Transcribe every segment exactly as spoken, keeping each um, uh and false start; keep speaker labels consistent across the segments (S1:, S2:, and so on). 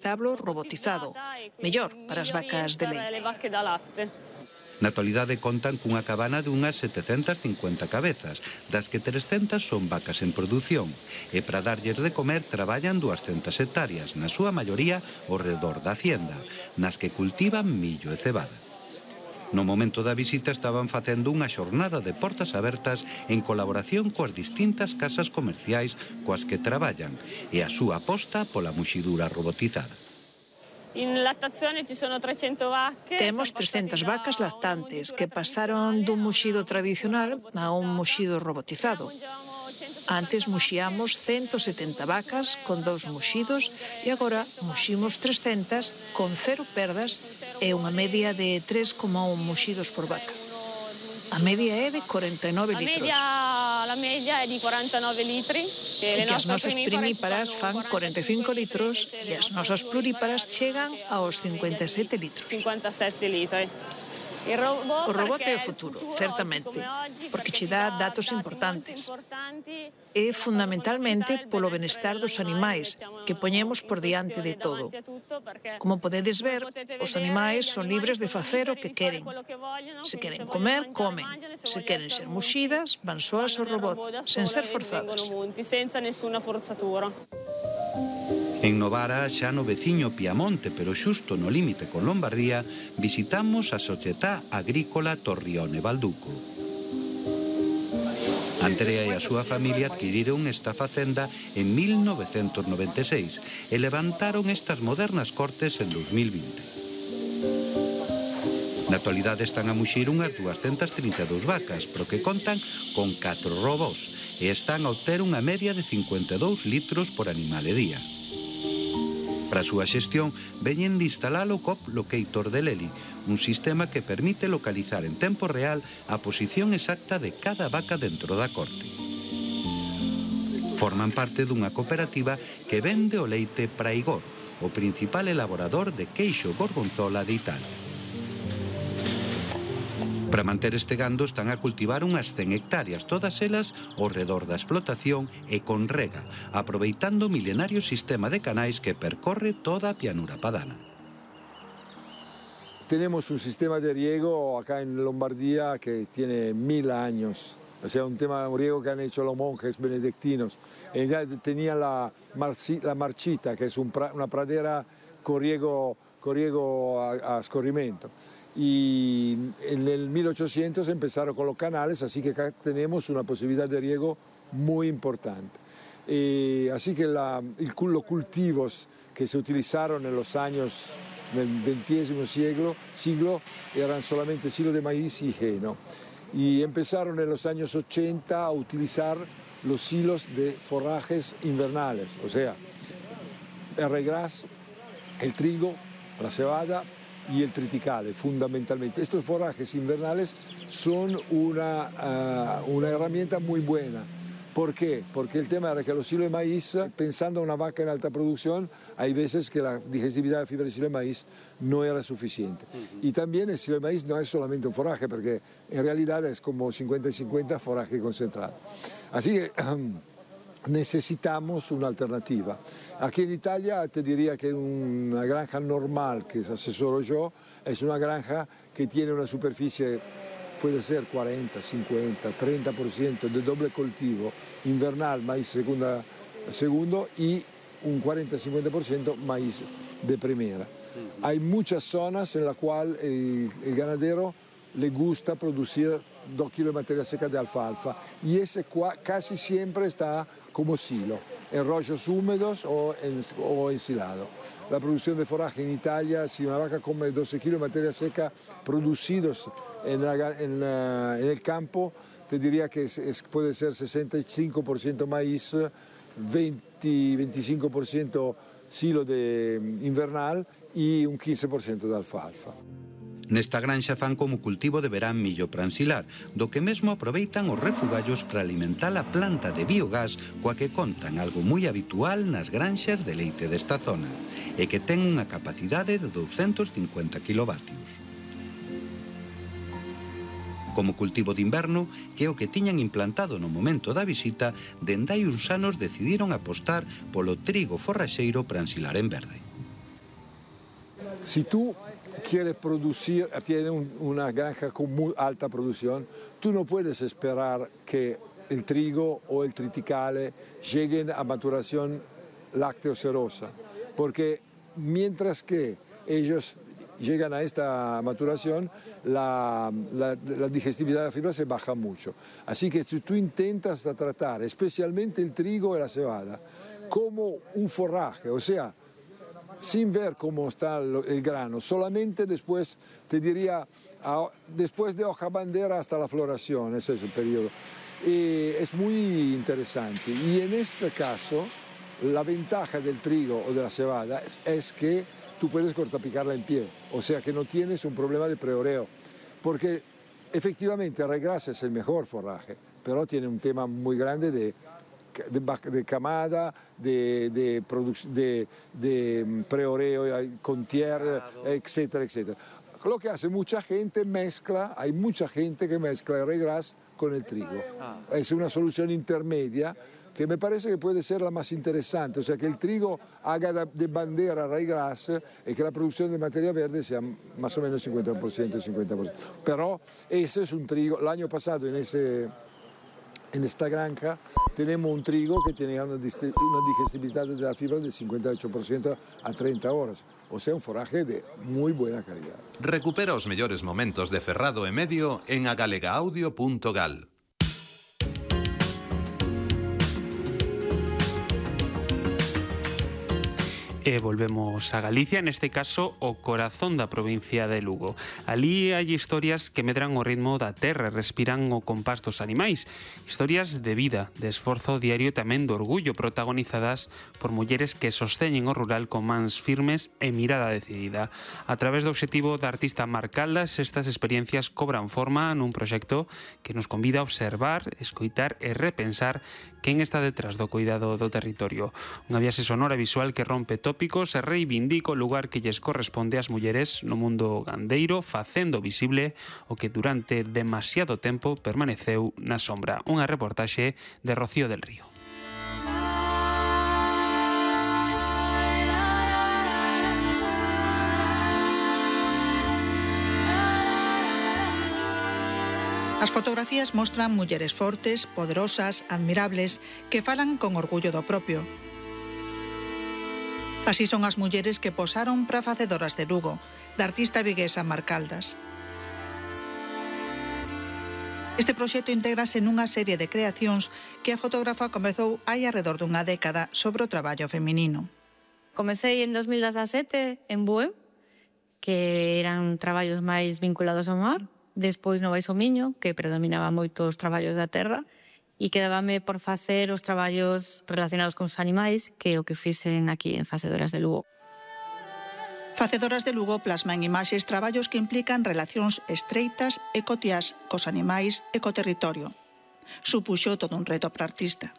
S1: establo robotizado, mellor para as vacas de leite.
S2: Na actualidade contan cunha cabana de unhas setecentas cincuenta cabezas, das que trescentas son vacas en produción, e para darlles de comer traballan duascentas hectáreas, na súa maioría ao redor da hacienda, nas que cultivan millo e cebada. No momento da visita estaban facendo unha xornada de portas abertas en colaboración coas distintas casas comerciais coas que traballan e a súa aposta pola muxidura robotizada.
S3: In lattazione ci sono trecento vacche.
S1: Temos trescentas vacas lactantes que pasaron dun muxido tradicional a un muxido robotizado. Antes muxiamos ciento setenta vacas con dous muxidos e agora muximos trescentas con cero perdas e unha media de tres coma un muxidos por vaca. A media é de corenta e nove litros.
S3: La media é de corenta e nove litri.
S1: E que as nosas primíparas fan corenta e cinco litros e as nosas pluríparas chegan aos cincuenta e sete litros.
S3: cincuenta e sete litri.
S1: O robot é o futuro, certamente, porque che dá datos importantes. É fundamentalmente polo benestar dos animais, que poñemos por diante de todo. Como podedes ver, os animais son libres de facer o que queren. Se queren comer, comen. Se queren ser muxidas, van soas ao robot, sen ser forzadas.
S2: En Novara, xa no veciño Piamonte, pero xusto no límite con Lombardía, visitamos a Società Agrícola Torrione Balduco. Andrea e a súa familia adquiriron esta facenda en mil novecentos noventa e seis e levantaron estas modernas cortes en dos mil vinte. Na actualidade están a muxir unhas duascentas trinta e dous vacas, pero que contan con catro robós e están a obter unha media de cincuenta e dous litros por animal e día. Para a súa xestión, veñen de instalar o C O P Locator de Leli, un sistema que permite localizar en tempo real a posición exacta de cada vaca dentro da corte. Forman parte dunha cooperativa que vende o leite para Igor, o principal elaborador de queixo gorgonzola de Italia. Para manter este gando están a cultivar unhas cen hectáreas, todas elas ao redor da explotación e con rega, aproveitando o milenario sistema de canais que percorre toda a llanura padana.
S4: Tenemos un sistema de riego acá en Lombardía que tiene mil años. O sea, un tema de riego que han hecho los monjes benedictinos. En realidad tenía la, marci, la marchita, que es un pra, una pradera con riego, con riego a, a escorrimento. Y en el mil ochocientos empezaron con los canales, así que acá tenemos una posibilidad de riego muy importante. Eh, así que la, el, los cultivos que se utilizaron en los años del veintésimo siglo, siglo eran solamente silo de maíz y heno. Y empezaron en los años ochenta a utilizar los silos de forrajes invernales, o sea, el regras, el trigo, la cebada y el triticale, fundamentalmente. Estos forrajes invernales son una, uh, una herramienta muy buena. ¿Por qué? Porque el tema era que los silos de maíz, pensando en una vaca en alta producción, hay veces que la digestibilidad de fibra de silo de maíz no era suficiente. Uh-huh. Y también el silo de maíz no es solamente un forraje, porque en realidad es como cincuenta y cincuenta forraje concentrado. Así que necesitamos una alternativa. Aquí en Italia te diría que una granja normal que asesoro yo es una granja que tiene una superficie, puede ser cuarenta, cincuenta, treinta por ciento de doble cultivo invernal, maíz segunda, segundo y un cuarenta a cincuenta por ciento maíz de primera. Hay muchas zonas en las cuales el, el ganadero le gusta producir dos kilos de materia seca de alfalfa y ese casi siempre está como silo, en rollos húmedos o, en, o ensilado. La producción de forraje en Italia, si una vaca come doce kilos de materia seca producidos en, la, en, la, en el campo, te diría que es, es, puede ser sesenta y cinco por ciento maíz, veinte a veinticinco por ciento silo de invernal y un quince por ciento de alfalfa.
S2: Nesta granxa fan como cultivo de verán millo para ensilar, do que mesmo aproveitan os refugallos para alimentar a planta de biogás coa que contan, algo moi habitual nas granxas de leite desta zona, e que ten unha capacidade de douscentos cincuenta kilovatios. Como cultivo de inverno, que é o que tiñan implantado no momento da visita, dende hai uns anos decidiron apostar polo trigo forraxeiro para ensilar en verde.
S4: Si tú quieres producir, tienes un, una granja con muy alta producción, tú no puedes esperar que el trigo o el triticale lleguen a maturación lácteo-cerosa, porque mientras que ellos llegan a esta maturación, la, la, la digestibilidad de la fibra se baja mucho. Así que si tú intentas tratar especialmente el trigo y la cebada como un forraje, o sea, sin ver cómo está el grano, solamente después, te diría, después de hoja bandera hasta la floración, ese es el periodo. Y es muy interesante. Y en este caso, la ventaja del trigo o de la cebada es, es que tú puedes cortapicarla en pie, o sea que no tienes un problema de preoreo, porque efectivamente el regrasa es el mejor forraje, pero tiene un tema muy grande de De, de camada, de, de, de, de preoreo con tierra, etcétera, etcétera. Lo que hace mucha gente mezcla, hay mucha gente que mezcla el regras con el trigo. Es una solución intermedia que me parece que puede ser la más interesante, o sea que el trigo haga de bandera regras y que la producción de materia verde sea más o menos cincuenta por ciento y cincuenta por ciento. Pero ese es un trigo, el año pasado en ese... En esta granja tenemos un trigo que tiene una digestibilidad de la fibra del cincuenta y ocho por ciento a treinta horas, o sea, un forraje de muy buena calidad.
S5: Recupera os mellores momentos de Ferrado e Medio en agalega-audio punto gal.
S6: E volvemos a Galicia, neste caso o corazón da provincia de Lugo. Alí hai historias que medran o ritmo da terra, respiran o compás dos animais. Historias de vida, de esforzo diario e tamén de orgullo, protagonizadas por mulleres que sosteñen o rural con mans firmes e mirada decidida. A través do obxectivo da artista Mar Caldas, estas experiencias cobran forma nun proxecto que nos convida a observar, escoitar e repensar quen está detrás do cuidado do territorio. Unha viaxe sonora e visual que rompe tópicos e reivindica o lugar que lles corresponde ás mulleres no mundo gandeiro, facendo visible o que durante demasiado tempo permaneceu na sombra. Unha reportaxe de Rocío del Río.
S7: As fotografías mostran mulleres fortes, poderosas, admirables, que falan con orgullo do propio. Así son as mulleres que posaron para Facedoras de Lugo, da artista viguesa Mar Caldas. Este proxecto intégrase nunha serie de creacións que a fotógrafa comezou hai alrededor dunha década sobre o traballo feminino.
S8: Comecei en dos mil dezasete en Bueu, que eran traballos máis vinculados ao mar. Despois no Baixo Miño, que predominaba moito os traballos da terra, e quedábame por facer os traballos relacionados con os animais, que é o que fixen aquí en Facedoras de Lugo.
S7: Facedoras de Lugo plasma en imaxes traballos que implican relacións estreitas e cotiás cos animais e co territorio. Supuxo todo un reto para a artista.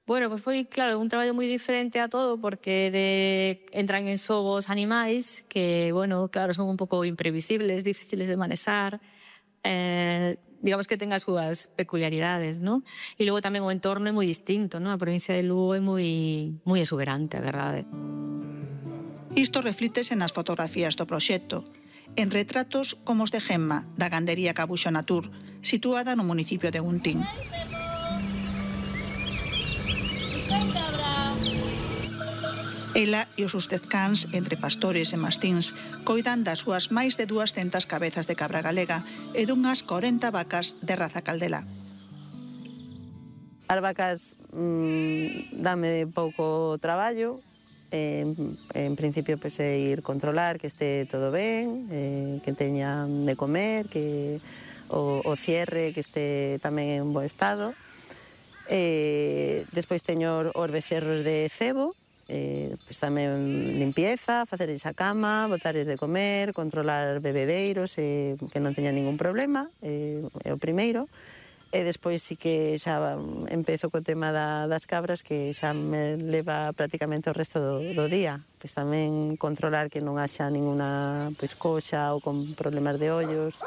S8: Bueno, pues foi, claro, un traballo moi diferente a todo, porque de, entran en xogo os animais que, bueno, claro, son un pouco imprevisibles, difíciles de manesar, eh, digamos que ten as súas peculiaridades, ¿no? E logo tamén o entorno é moi distinto, ¿no? A provincia de Lugo é moi, moi exuberante, a verdade.
S7: Isto reflítese nas fotografías do proxecto, en retratos como os de Gemma, da gandería Cabuxo Natur, situada no municipio de Guntín. Ela e os seus cans, entre pastores e mastíns, coidan das súas máis de duascentas cabezas de cabra galega e dunhas corenta vacas de raza caldela.
S9: As vacas mmm, dame pouco traballo. En, en principio, pues, é ir controlar que este todo ben, eh, que teñan de comer, que o, o cierre que este tamén en bo estado. Eh, despois teño os becerros de cebo, eh, pues tamén limpieza, facerles a cama, botarles de comer, controlar bebedeiros, eh, que non teñan ningún problema, eh, é o primeiro. E despois sí que xa empezo co tema da, das cabras, que xa me leva prácticamente o resto do, do día. Pois tamén controlar que non haxa ninguna pois, coxa ou con problemas de ollos,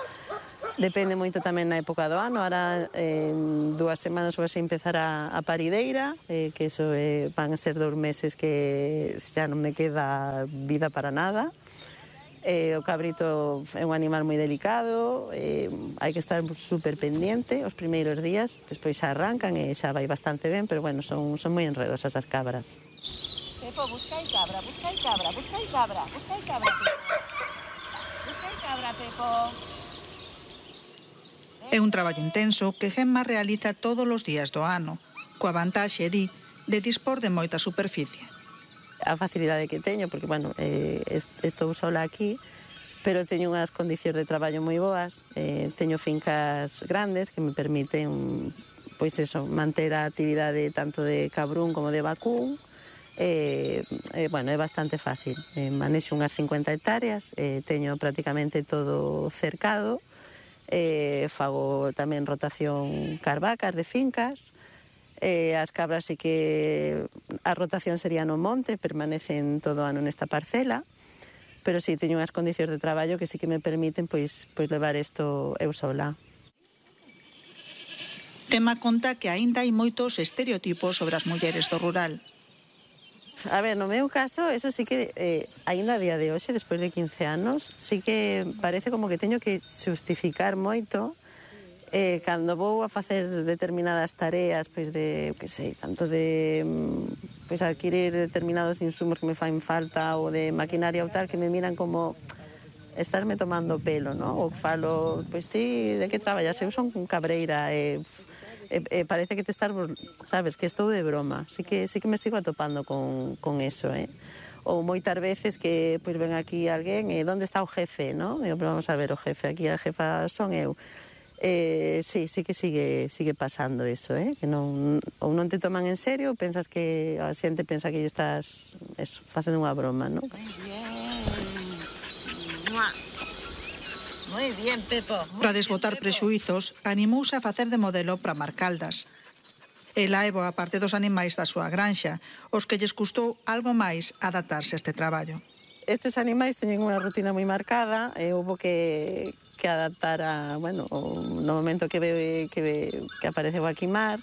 S9: Depende moito tamén na época do ano. Ahora, en dúas semanas vai empezar a, a parideira, eh, que eso eh, van a ser dous meses que xa non me queda vida para nada. Eh, o cabrito é un animal moi delicado, eh, hai que estar super pendiente os primeiros días, despois xa arrancan e xa vai bastante ben, pero bueno, son, son moi enredosas as cabras.
S10: Pepo, buscai cabra, buscai cabra, buscai cabra, buscai cabra, Pepo. Buscai cabra, Pepo.
S7: É un traballo intenso que Gemma realiza todos os días do ano, coa vantaxe, di, de dispor de moita superficie.
S9: A facilidade que teño, porque, bueno, eh, estou sola aquí, pero teño unhas condicións de traballo moi boas, eh, teño fincas grandes que me permiten, pois eso, manter a actividade tanto de cabrún como de vacún. Eh, eh, bueno, é bastante fácil. Eh, manexo unhas cincuenta hectáreas, eh, teño prácticamente todo cercado, eh, fago tamén rotación carvacas de fincas. Eh, as cabras sí que a rotación sería no monte, permanecen todo o ano nesta parcela, pero sí teño unhas condicións de traballo que sí que me permiten pois, pois levar isto eu sola.
S7: Gemma conta que aínda hai moitos estereotipos sobre as mulleres do rural.
S9: A ver, no meu caso, eso sí que eh, aínda a día de hoxe, despois de quince anos, sí que parece como que teño que justificar moito Eh, cando vou a facer determinadas tareas, pois de, que sei, tanto de pois adquirir determinados insumos que me fan falta ou de maquinaria ou tal, que me miran como estarme tomando pelo, ¿no? Ou falo, pois ti, de que traballas? Eu son cabreira, e, e, e parece que te estás, sabes, que estou de broma. Sí que, sí que me sigo atopando con, con eso, eh? Ou moitas veces que pois ven aquí alguén e onde está o jefe, ¿no? Digo, pero vamos a ver, o jefe, aquí a jefa son eu. Eh, sí, sí que sigue, sigue pasando eso, eh? Que non, ou non te toman en serio ou pensas que a xente pensa que estás eso, facendo unha broma, ¿no?
S10: Moi bien. Moi bien, Pepo.
S7: Para desbotar prexuizos, animouse a facer de modelo para Marcaldas. Ela é boa parte dos animais da súa granxa, os que lles custou algo máis adaptarse a este traballo.
S9: Estes animais teñen unha rutina moi marcada e houve que, que adaptar a, bueno, no momento que, ve, que, ve, que apareceu aquí mar,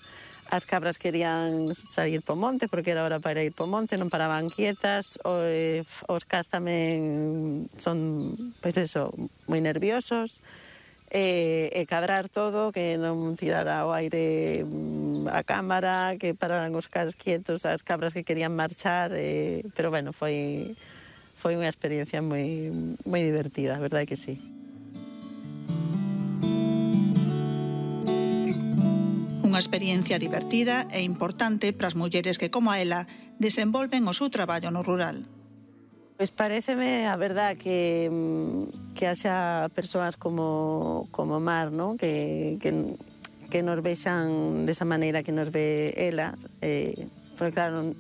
S9: as cabras querían sair po monte porque era hora para ir po monte, non paraban quietas, os, os cas tamén son, pois eso, moi nerviosos, e, e cadrar todo, que non tirara o aire a cámara, que pararan os cas quietos, as cabras que querían marchar, e, pero bueno, foi... Foi unha experiencia moi, moi divertida, a verdade que sí.
S7: Unha experiencia divertida e importante para as mulleres que, como a ela, desenvolven o seu traballo no rural.
S9: Pois pareceme, a verdade, que, que haxa persoas como, como Mar, ¿no? que, que, que nos vexan desa maneira que nos ve ela, eh, porque claro,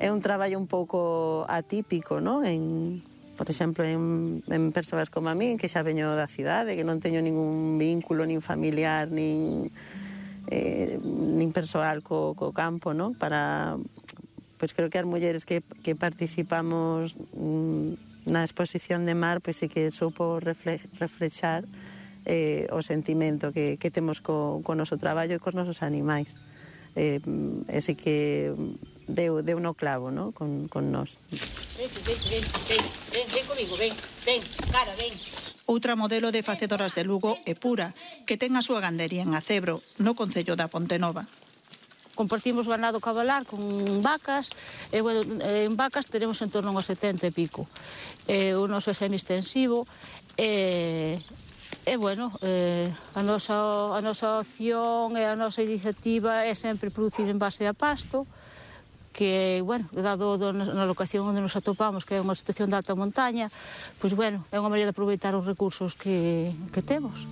S9: é un traballo un pouco atípico, ¿no? En, por exemplo, en, en persoas como a mí, que xa veño da cidade, que non teño ningún vínculo, nin familiar, nin, eh, nin persoal co, co campo, ¿no? Para, pois creo que as mulleres que, que participamos mm, na exposición de Mar, pois sí que soupo refle, reflexar eh, o sentimento que, que temos co, co noso traballo e cos nosos animais. Eh, e sí que deu, deu no clavo, ¿no? Con, con nós.
S10: Ven, ven, ven, ven, ven, ven comigo, ven, ven, cara, ven.
S7: Outra modelo de facedoras de Lugo é Pura, que ten a súa gandería en Acebro, no concello da Pontenova.
S11: Compartimos ganado cabalar con vacas, e, bueno, en vacas tenemos en torno a setenta e pico. E, o noso é semi-extensivo, e... E, bueno, eh, a, nosa, a nosa opción e a nosa iniciativa é sempre producir en base a pasto, que, bueno, dado do, na locación onde nos atopamos, que é unha situación de alta montaña, pois, bueno, é unha maneira de aproveitar os recursos que, que temos.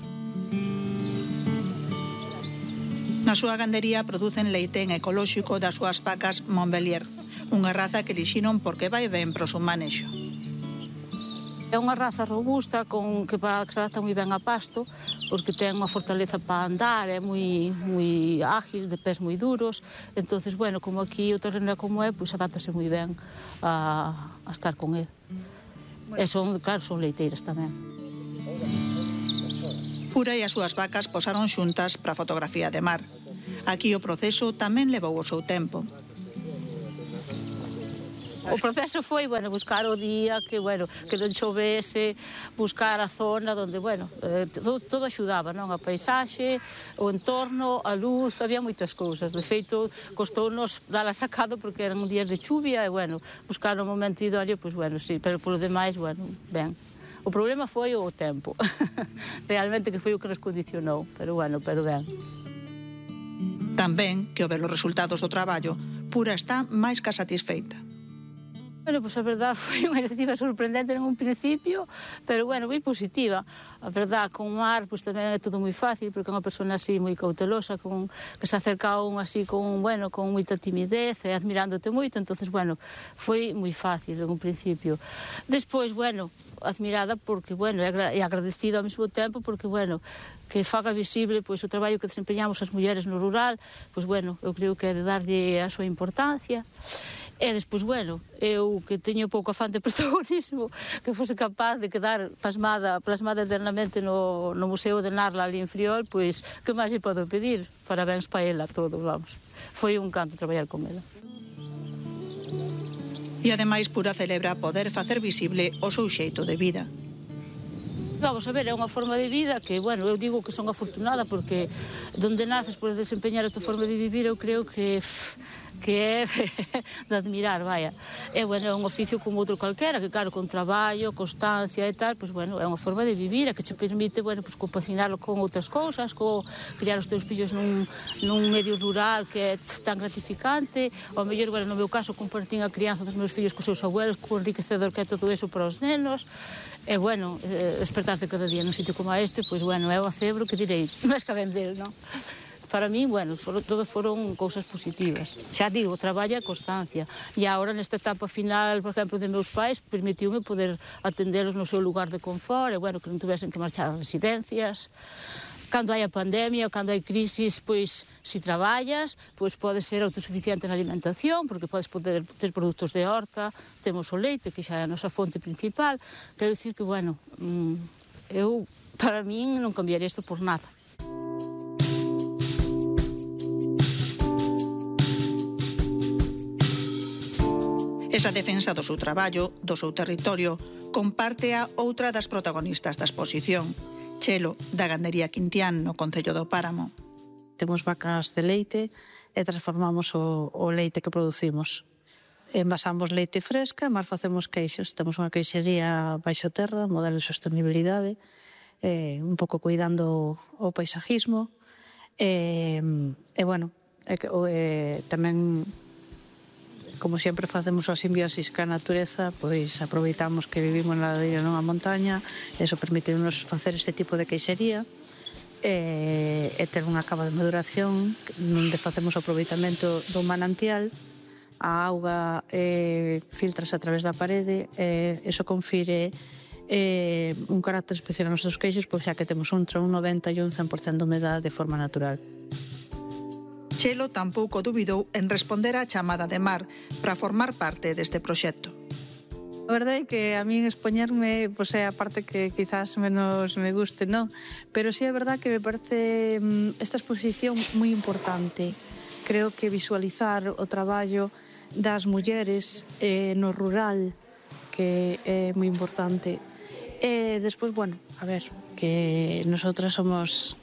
S7: Na súa gandería producen leite en ecolóxico das súas vacas Montbelier, unha raza que elixiron porque vai ben pro seu manexo.
S11: É unha raza robusta con que, pa, que se adapta moi ben a pasto, porque ten unha fortaleza para andar, é moi, moi ágil, de pés moi duros. Entonces, bueno, como aquí o terreno é como é, pois adáptase moi ben a, a estar con ele. E son, claro, son leiteiras tamén.
S7: Pura e as súas vacas posaron xuntas para a fotografía de mar. Aquí o proceso tamén levou o seu tempo.
S11: O proceso foi, bueno, buscar o día, que, bueno, que non chovese, buscar a zona onde, bueno, eh, todo, todo axudaba, non? A paisaxe, o entorno, a luz, había moitas cousas. De feito, costounos dar a sacado porque eran días de chuvia e, bueno, buscar o momento idóneo, pois, bueno, sí, pero polo demais, bueno, ben. O problema foi o tempo. Realmente que foi o que nos condicionou, pero, bueno, pero ben.
S7: Tamén, que ao ver os resultados do traballo, Pura está máis que satisfeita.
S11: Bueno, pois a verdad foi unha iniciativa sorprendente en un principio, pero, bueno, moi positiva. A verdad, con o mar, pois tamén é todo moi fácil, porque é unha persona así moi cautelosa, con, que se acerca a un así con, bueno, con moita timidez e admirándote moito, entonces, bueno, foi moi fácil en un principio. Despois, bueno, admirada porque, bueno, e agradecido ao mesmo tempo porque, bueno, que faga visible pois o traballo que desempeñamos as mulleres no rural, pois, bueno, eu creo que é de darlle a súa importancia. E despois, bueno, eu que teño pouco afán de protagonismo, que fose capaz de quedar plasmada, plasmada eternamente no, no Museo de Narla ali en Friol, pois, que máis lle podo pedir? Parabéns pa ela todo, vamos. Foi un canto traballar con ela.
S7: E ademais Pura celebra poder facer visible o seu xeito de vida.
S11: Vamos a ver, é unha forma de vida que, bueno, eu digo que son afortunada porque donde naces podes desempeñar a tua forma de vivir, eu creo que que é de admirar, vaya. É, bueno, é un oficio como outro calquera, que claro, con traballo, constancia e tal, pois, bueno, é unha forma de vivir, a que te permite, bueno, pois, compaginarlo con outras cousas, co criar os teus fillos nun, nun medio rural que é tan gratificante, ao mellor, bueno, no meu caso, compartín a crianza dos meus fillos cos seus abuelos, co enriquecedor que é todo eso para os nenos, e, bueno, despertarte cada día nun sitio como este, pois, bueno, é o acebro que direi, máis que a vender, non? Para mí, bueno, foron, todo foron cousas positivas. Xa digo, traballo e constancia. E agora, nesta etapa final, por exemplo, de meus pais, permitiume poder atendelos no seu lugar de confort, e, bueno, que non tuvesen que marchar ás residencias. Cando hai a pandemia, cando hai crisis, pois, se traballas, pois podes ser autosuficiente na alimentación, porque podes poder ter produtos de horta, temos o leite, que xa é a nosa fonte principal. Quero dicir que, bueno, eu, para min, non cambiaría isto por nada.
S7: Esa defensa do seu traballo, do seu territorio, comparte a outra das protagonistas da exposición, Chelo, da gandería Quintián, no concello do Páramo.
S12: Temos vacas de leite e transformamos o, o leite que producimos. Envasamos leite fresca, máis facemos queixos. Temos unha queixería baixo terra, modelo de sostenibilidade, eh, un pouco cuidando o paisajismo. E, e bueno, e, e, tamén, como sempre facemos a simbiosis ca natureza, pois aproveitamos que vivimos na ladeira nunha montaña, e iso permite-nos facer ese tipo de queixería e, e ter unha cava de maduración onde facemos o aproveitamento do manantial, a auga eh, filtrase a través da parede, e iso confire eh, un carácter especial aos nosos queixos, pois xa que temos entre un noventa e un cen por cento de humedade de forma natural.
S7: Chelo tampouco dubidou en responder á chamada de Mar para formar parte deste proxecto.
S12: A verdade é que a min expoñerme pois, é a parte que quizás menos me guste, non? Pero sí é verdade que me parece esta exposición moi importante. Creo que visualizar o traballo das mulleres eh, no rural, que é moi importante. E despois, bueno, a ver, que nosotras somos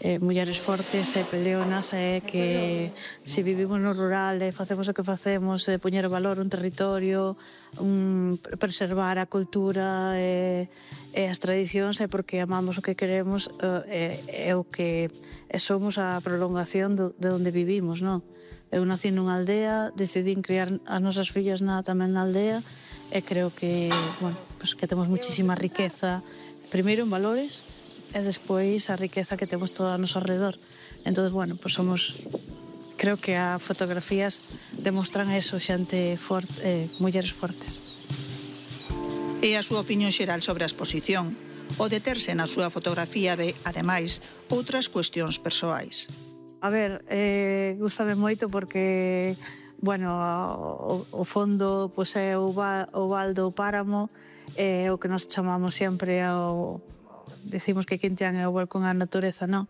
S12: Eh, mulleres fortes e peleonas, e que se vivimos no rural e facemos o que facemos, e poñer valor un territorio, un, preservar a cultura e, e as tradicións, é porque amamos o que queremos, e, e o que e somos a prolongación do, de onde vivimos, non? Eu nací nunha aldea, decidín criar as nosas fillas na, tamén na aldea, e creo que, bueno, pues que temos muchísima riqueza, primeiro en valores, e despois a riqueza que temos todo a noso alrededor. Entón, bueno, pues somos, creo que as fotografías demostran eso, xente forte, eh, mulleres fortes.
S7: E a súa opinión xeral sobre a exposición, o deterse na súa fotografía ve, ademais, outras cuestións persoais.
S12: A ver, eh, gústame moito porque, bueno, o, o fondo pues, é o, val, o val do Páramo, é o que nos chamamos sempre ao decimos que Quintián é o balcón á natureza, non?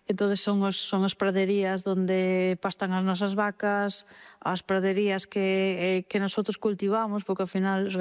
S12: Entón son os, son as praderías onde pastan as nosas vacas, as praderías que, eh, que nosotros cultivamos, porque ao final os